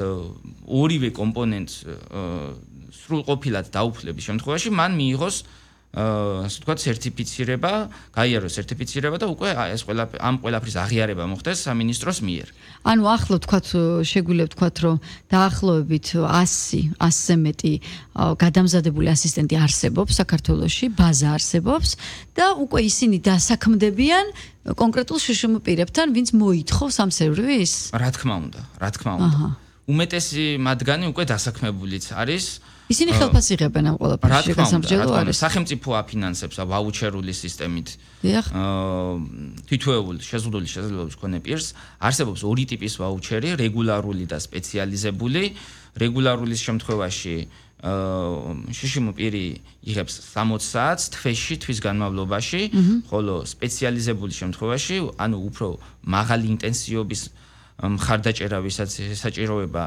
ორივე კომპონენტს სრულყოფილად დაუფლების შემთხვევაში მან მიიღოს ასე ვთქვათ სერტიფიცირება, გაიაროს სერტიფიცირება და უკვე ეს ამ ყველაფრის აღიარება მოხდეს სამინისტროს მიერ. ანუ ახლა ვთქვათ შეგვიძლია ვთქვათ რომ დაახლოებით 100-ზე მეტი გადამზადებული ასისტენტი არსებობს საქართველოში, ბაზა არსებობს და უკვე ისინი დასაქმდებიან კონკრეტულ შშმ პირებთან, ვინც მოითხოვს ამ სერვისს? რა თქმა უნდა. უმეტესი მათგანი უკვე დასაქმებულიც არის. ისინი ხელფას იღებენ ამ ყველაფერში, გასამჯელო არის. სახელმწიფო აფინანსებს ვაუჩერული სისტემით. თითოეულ შეზღუდული შესაძლებლობის მქონე პირს არსებობს ორი ტიპის ვაუჩერი, რეგულარული და სპეციალიზებული. რეგულარულის შემთხვევაში შშმ პირი იღებს 60 საათს თვეში, თვის განმავლობაში, ხოლო სპეციალიზებული შემთხვევაში, ანუ უფრო მაღალი ინტენსივობის მხარდაჭერა, ვისაც საჭიროება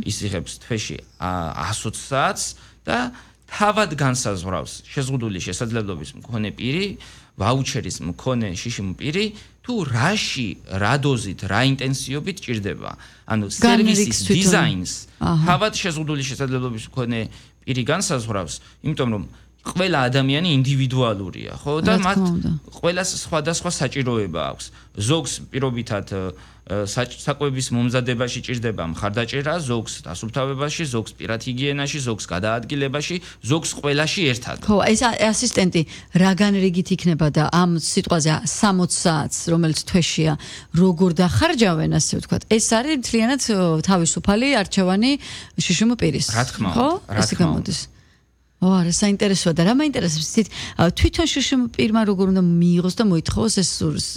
ის იღებს თვეში 120 საათს და თავად განსაზღვრავს შეზღუდული შესაძლებლობის მქონე პირი, ვაუჩერის მქონე შშმ პირი თუ რაში, რა დოზით, რა ინტენსივობით ჭირდება. ანუ სერვისის დიზაინს თავად შეზღუდული შესაძლებლობის მქონე პირი განსაზღვრავს, იმიტომ რომ ყველა ადამიანი ინდივიდუალურია, ხო? და მათ ყველას სხვადასხვა საჭიროება აქვს. ზოგს პირობითად საკვების მომზადებაში ჭირდება მხარდაჭერა, ზოგს დასუფთავებაში, ზოგს პირად ჰიგიენაში, ზოგს გადაადგილებაში, ზოგს ყველაში ერთად. ხო, ეს ასისტენტი რაგან რიგით იქნება და ამ სიტყვაზე 60 საათს, რომელიც თვეშია, როგორ დახარჯავენ, ასე ვთქვათ. ეს არის მთლიანად თავისუფალი არჩევანი შშმ პირის. რა თქმა უნდა, ხო? ესე გამოდის. არა, საინტერესოა და რა მაინტერესებს ისეთ თვითონ შშმ პირმა როგორ უნდა მიიღოს და მოითხოვოს ეს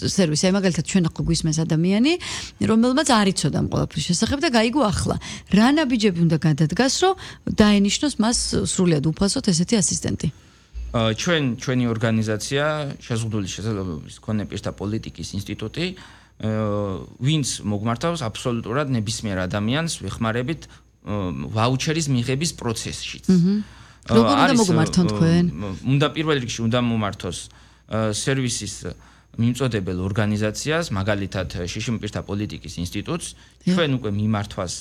სერვისი. აი მაგალითად ჩვენ ახლა გვისმენს ადამიანი, რომელმაც არ იცოდა ამ ყველაფრის შესახებ და გაიგო ახლა. რა ნაბიჯები უნდა გადადგას, რომ დაენიშნოს მას სრულად უფასოდ ესეთი ასისტენტი? ჩვენი ორგანიზაცია შეზღუდული შესაძლებლობის მქონე პირთა პოლიტიკის ინსტიტუტი, ვინც მოგმართავს აბსოლუტურად ნებისმიერ ადამიანს ვეხმარებით ვაუჩერის მიღების პროცესშიც. როგორ უნდა მოგმართონ თქვენ? უნდა პირველ რიგში უნდა მომართოს სერვისის მიმწოდებელ ორგანიზაციას, მაგალითად შშმ პირთა პოლიტიკის ინსტიტუტს. ჩვენ უკვე მიმართვას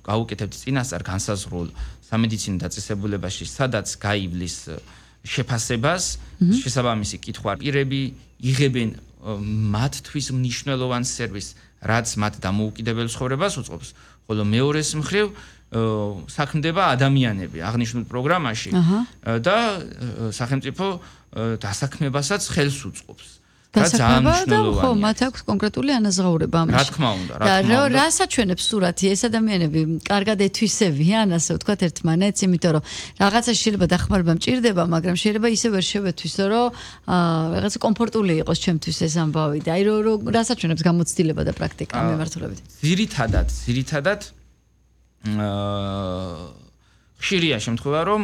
გავუკეთებთ წინასწარ განსაზღვრულ სამედიცინო დაწესებულებაში, სადაც გაივლის შეფასებას, შესაბამისი კითხვა პირები იღებენ მათთვის მნიშვნელოვან სერვისს, რაც მათ დამოუკიდებელ ცხოვრებას უწყობს, ხოლო მეორეს მხრივ საქმდება ადამიანები აღნიშნულ პროგრამაში და სახელმწიფო დასაქმებასაც ხელს უწყობს. დასაქმება და ხო, მათ აქვს კონკრეტული ანაზღაურება ამაში. რა თქმა უნდა, და რას აჩვენებს სურათი ეს ადამიანები კარგად ეთვისებიან, ასე ვთქვათ, ერთმანეთს, იმიტომ რომ რაღაცა შეიძლება დახმარება მჭირდება, მაგრამ შეიძლება ისე ვერ შევეთვისო, რომ რაღაცა კომფორტული იყოს ჩემთვის ეს ამბავი და აი რას აჩვენებს გამოცდილება და პრაქტიკა მიმართულებით. ძირითადად ხშირია შემთხვევა, რომ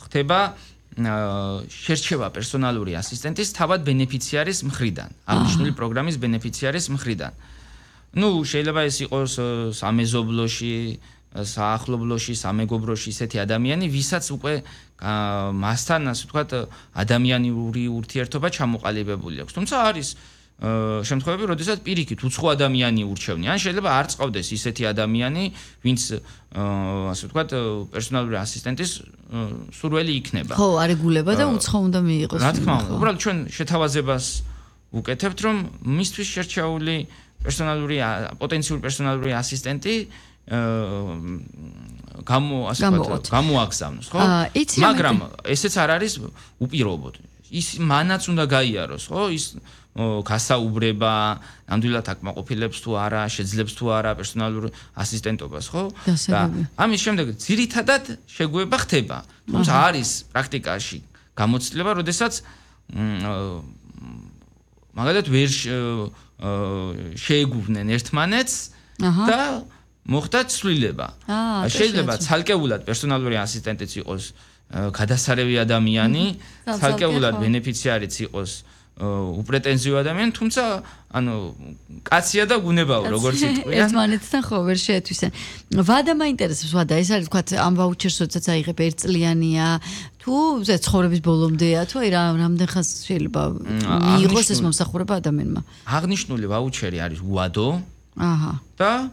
ხდება შერჩევა პერსონალური ასისტენტის თავად ბენეფიციარის მხრიდან, აღნიშნული პროგრამის ბენეფიციარის მხრიდან. ნუ შეიძლება ეს იყოს სამეზობლოში, საახლობლოში, სამეგობროში ისეთი ადამიანი, ვისაც უკვე მასთან, ასე ვთქვათ, ადამიანური ურთიერთობა ჩამოყალიბებული აქვს. თუმცა არის შემთხვევები, როდესაც პირიქით უცხო ადამიანი ურჩევნია, ან შეიძლება არ წყავდეს ისეთი ადამიანი, ვინც ასე ვთქვათ, პერსონალური ასისტენტის სურველი იქნება. ხო, არეგულება და უცხო უნდა მიიღოს. რა თქმა უნდა, უბრალოდ ჩვენ შეთავაზებას ვუკეთებთ, რომ მისთვის შერჩეული პოტენციური პერსონალური ასისტენტი გამოაგზავნოს, ხო? მაგრამ ესეც არ არის უპირობოდ. ის მანაც უნდა გაიაროს, ხო? ის გასაუბრება, ნამდვილად აკმაყოფილებს თუ არა, შეძლებს თუ არა პერსონალურ ასისტენტობას, ხო? და ამის შემდეგ ძირითადად შეგუება ხდება. თუმცა არის პრაქტიკაში გამოცდილება, როდესაც მაგალითად ვერ შეეგუვნენ ერთმანეთს და მოხდა ცვლილება. შეიძლება ცალკეულად პერსონალური ასისტენტიც იყოს გადასარევი ადამიანი, ცალკეულად ბენეფიციარიც იყოს უპრეტენზიო ადამიანი, თუმცა ანუ კაცია და გუნებაო, როგორც იტყვია. ერთმანეთთან ხო ვერ შეეთვისენ. ვადა მაინტერესებს, ვადა, ეს არის ვთქვათ, ამ ვაუჩერს როდესაც აიღებ ერთწლიანია, თუ ცხოვრების ბოლომდეა, თუ აი რამდენ ხანს შეიძლება მიიღოს ეს მომსახურება ადამიანმა. აღნიშნული ვაუჩერი არის უადო. და